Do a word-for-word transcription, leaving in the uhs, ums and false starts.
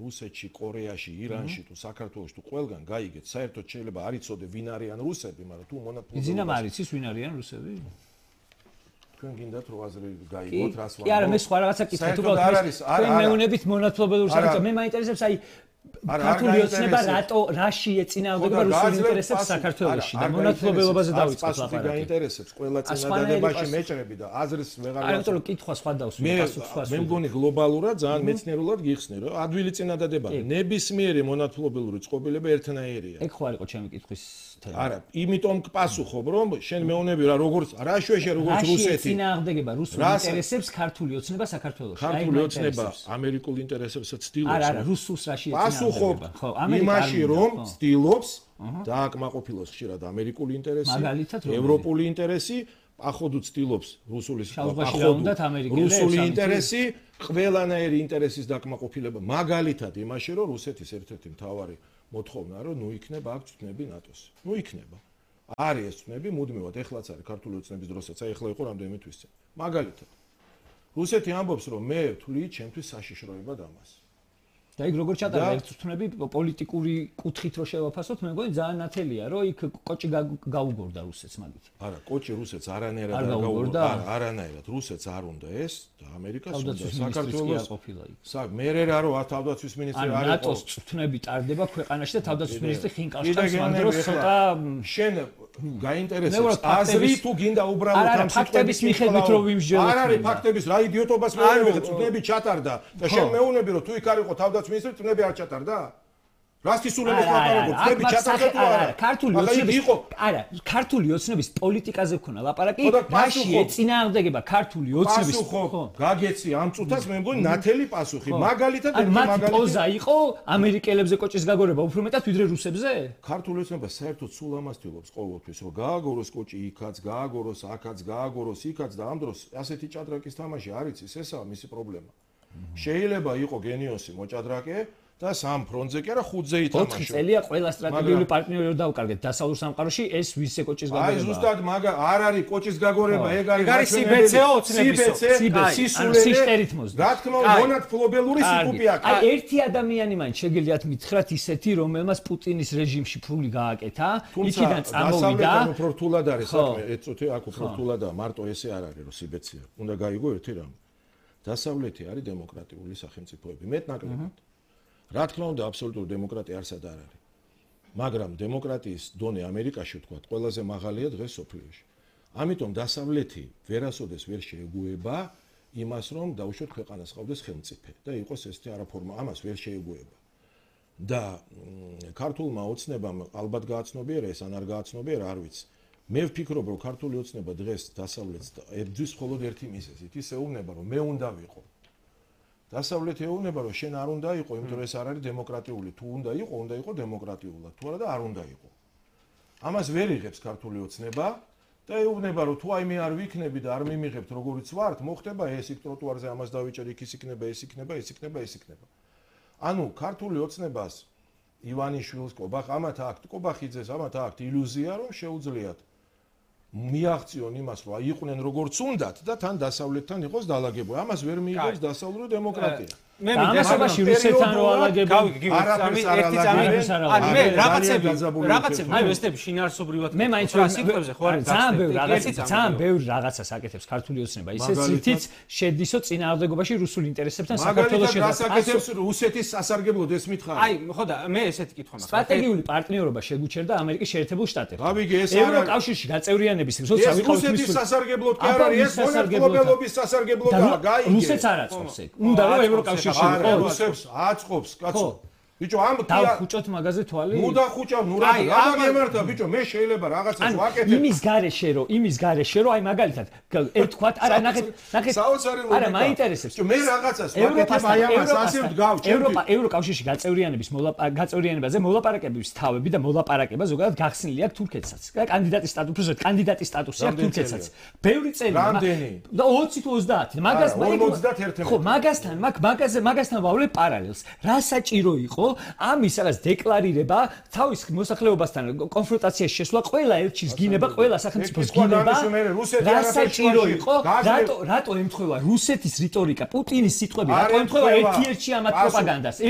რუსეთში, კორეაში, ირანში თუ საქართველოში თუ ყველგან გაიგეთ, საერთოდ შეიძლება არ იცოდე ვინ არიან რუსები, მაგრამ თუ მონათლობელობა იზინა მარიცის ვინ არიან რუსები? თქვენ გინდათ რო აზრი გაიგოთ, რას ვამბობ. კი არა, მე სხვა რაღაცა კითხეთ, უბრალოდ თქვენ მეუნებით მონათლობელურ საკითხს, მე მაინტერესებს აი ქართული ოცნება რატო რაში ეწინააღმდება რუსულ ინტერესებს საქართველოში და მონათლობელობაზე დავიწყოთ ლაპარაკი. გაინტერესებს ყველა წინადადებაში მეჭრები და აზრის ვეღარ არა, იმიტომ რომ კითხვა სხვა დავსვი, პასუხი სხვა. მე მგონი გლობალურად ძალიან მეცნიერულად გიხსნე, რომ ადვილი წინადადება ნებისმიერი მონათლობელური წყობილება ერთნაირია. ეგ ხო არ იყო ჩემი კითხვის თემა. არა, იმიტომ გპასუხობ, რომ შენ მეუნები რა როგორც რა შეშე როგორც რუსეთი წინააღმდება რუსულ ინტერესებს ქართული ოცნება საქართველოში. ქართული ოცნება ამერიკულ ინტერესებსაც ცდილობს. არა, არა, რუსულს რაში პასუხობ იმაში რომ ცდილობს დააკმაყოფილოს ხშირად ამერიკული ინტერესი, ევროპული ინტერესი, ახოდუ ცდილობს რუსული რუსული ინტერესი, ყველანაირი ინტერესის დააკმაყოფილება, მაგალითად იმაში რომ რუსეთის ერთ-ერთი მთავარი მოთხოვნა რომ ნუ იქნება აქ წვნები ნატოს. ნუ იქნება. არის ეს წვნები მუდმივად, ეხლაც არის ქართული ოცნების დროსაც, აი ეხლა იყო რამდენიმე თვის წინ. მაგალითად რუსეთი ამბობს რომ მე ვთვლი ჩემთვის საშიშროებად ამას. და იქ როგორ ჩატარდა ერთ წვნები პოლიტიკური კუთხით რო შევაფასოთ, მე მგონი ძალიან ნათელია, რომ იქ კოჭი გაუგორდა რუსეთს მაგით. არა, კოჭი რუსეთს არანაირად არ გაუგორდა. არა, არანაირად რუსეთს არ უნდა ეს და ამერიკას უნდა საქართველოს ყოფილა იქ. სა მერე რა რო თავდაცვის მინისტრი არ იყო. ნატოს წვნები ტარდება ქვეყანაში და თავდაცვის მინისტრი ხინკალშტაინს მაგ დროს ცოტა შენ გაინტერესებს აზრი თუ გინდა უბრალოდ ამ ფაქტების მიხედვით რო ვიმსჯელოთ. არ არის ფაქტების რა იდიოტობას მეუბნები წვნები ჩატარდა და შენ მეუბნები რომ თუ იქ არ იყო თავდაცვის მინისტრი წვნები არ ჩატარდა? რას ისულები ლაპარაკობ? წვნები ჩატარდა თუ არა? ქართული ოცნების არა, ქართული ოცნების პოლიტიკაზე ვქონა ლაპარაკი, რაში ეწინააღმდეგება ქართული ოცნების ხო? გაგეცი ამ წუთას მე მგონი ნათელი პასუხი. მაგალითად ერთი მაგალითი პოზა იყო ამერიკელებზე კოჭის გაგორება უფრო მეტად ვიდრე რუსებზე? ქართული ოცნება საერთოდ სულ ამას თვლობს ყოველთვის, რომ გააგოროს კოჭი იქაც, გააგოროს აქაც, გააგოროს იქაც და ამ დროს ასეთი ჭადრაკის თამაში არ იცის, ესაა მისი პრობლემა. შეიძლება იყო გენიოსი მოჭადრაკე და სამ ფრონტზე კი არა ხუთზე ითამაშო. ოთხი წელია ყველა სტრატეგიული პარტნიორი რო დავკარგეთ დასავლურ სამყაროში, ეს ვისე კოჭის გაგორება. აი ზუსტად მაგ არ არის კოჭის გაგორება, ეგ არის სიბეცეო ოცნებისო. სიშტერით მოსდა. რა თქმა უნდა, მონათლობელური სიკუპე აქვს. აი ერთი ადამიანი მაინც შეგიძლიათ მითხრათ ისეთი, რომელმაც პუტინის რეჟიმში ფული გააკეთა, იქიდან წამოვიდა. დასავლეთ უფრო რთულად არის საქმე, ეწოთე აქ უფრო რთულადაა, მარტო ესე არ არის რომ სიბეცეა. უნდა გაიგო ერთი რამ. დასავლეთი არის დემოკრატიული სახელმწიფოები, მეტნაკლებად. რა თქმა უნდა, აბსოლუტური დემოკრატია არსად არ არის. მაგრამ დემოკრატიის დონე ამერიკაში ვთქვათ, ყველაზე მაღალია დღეს სოფლიოში. ამიტომ დასავლეთი ვერასოდეს ვერ შეეგუება იმას, რომ დაუშვათ ქვეყანას ყავდეს ხელმწიფე და იყოს ესეთი არაფორმა, ამას ვერ შეეგუება. და ქართულმა ოცნებამ ალბათ გააცნობიერა ეს ან არ გააცნობიერა, არ ვიცი. მე ვფიქრობ, რომ ქართული ოცნება დღეს დასავლეთს ებძვის მხოლოდ ერთი მიზეზით, ის ეუბნება, რომ მე უნდა ვიყო. დასავლეთი ეუბნება, რომ შენ არ უნდა იყო, იმიტომ რომ ეს არ არის დემოკრატიული. თუ უნდა იყო, უნდა იყო დემოკრატიულად. თუ არა და არ უნდა იყო. ამას ვერ იღებს ქართული ოცნება და ეუბნება, რომ თუ აი მე არ ვიქნები და არ მიმიღებთ როგორიც ვართ, მოხდება ეს იქ ტროტუარზე ამას დავიჭერ, იქ ის იქნება, ეს იქნება, ეს იქნება, ეს იქნება. ანუ ქართული ოცნებას ივანიშვილს, კობახ, ამათ აქვთ, კობახიძეს, ამათ აქვთ ილუზია, რომ შეუძლიათ მიაღწიონ იმას, რომ აიყვნენ როგორც უნდათ და თან დასავლეთთან იყოს დალაგებული. ამას ვერ მიიღებს დასავლური დემოკრატია. მე მიდასაბაში რუსეთთან რო ალაგები არაფერს არ ალაგებს. ანუ მე რაღაცები რაღაცები მე ვესტები შინაარსობრივად მე მაინც რა სიტყვებზე ხო არის ძალიან ბევრი რაღაცა ძალიან ბევრი რაღაცას აკეთებს ქართული ოცნება. ისე ცითიც შედისო წინააღმდეგობაში რუსულ ინტერესებთან საქართველოს შედარება. მაგალითად რუსეთის სასარგებლოდ ეს მითხარი. აი ხო და მე ესეთი კითხვა მაქვს. სტრატეგიული პარტნიორობა შეგუჩერდა ამერიკის შეერთებულ შტატებში. გავიგე ეს არა ევროკავშირში გაწევრიანების როცა ვიყავით რუსეთის სასარგებლოდ კი არ არის ეს მონათლობელობის სასარგებლოდაა. გაიგე. რუსეთს არ აწყობს ეგ. უნდა რომ ევროკავშირში რუსებს აწყობს, კაცო. ბიჭო, ამ დავხუჭოთ მაგაზე თვალი? ნუ დახუჭავ, ნუ რა რა გამართა, ბიჭო, მე შეიძლება რაღაცას ვაკეთებ. იმის გარეშე რომ, იმის გარეშე რომ, აი მაგალითად, ეთქვათ, არა, ნახეთ, ნახეთ. არა, მაინტერესებს. ბიჭო, მე რაღაცას ვაკეთებ, აი ამას ასე ვდგავ, ევროპა, ევროკავშირში გაწევრიანების გაწევრიანებაზე მოლაპარაკებების თავები და მოლაპარაკება ზოგადად გახსნილი აქვს თურქეთსაც. კანდიდატის სტატუსზე, კანდიდატის სტატუსი აქვს თურქეთსაც. ბევრი წელი. რამდენი? და ოცი თუ ოცდაათი. მაგას ორმოცდაერთი. ხო, მაგასთან, მაგ მაგაზე, მაგასთან ვავლებ პარალელს. რა საჭირო იყო ამის რაღაც დეკლარირება, თავის მოსახლეობასთან კონფრონტაციაში შესვლა, ყველა ელჩის გინება, ყველა სახელმწიფოს გინება. რა საჭირო იყო? რატო რატო ემთხვევა რუსეთის რიტორიკა, პუტინის სიტყვები, რატო ემთხვევა ერთ-ერთში ამათ პროპაგანდას?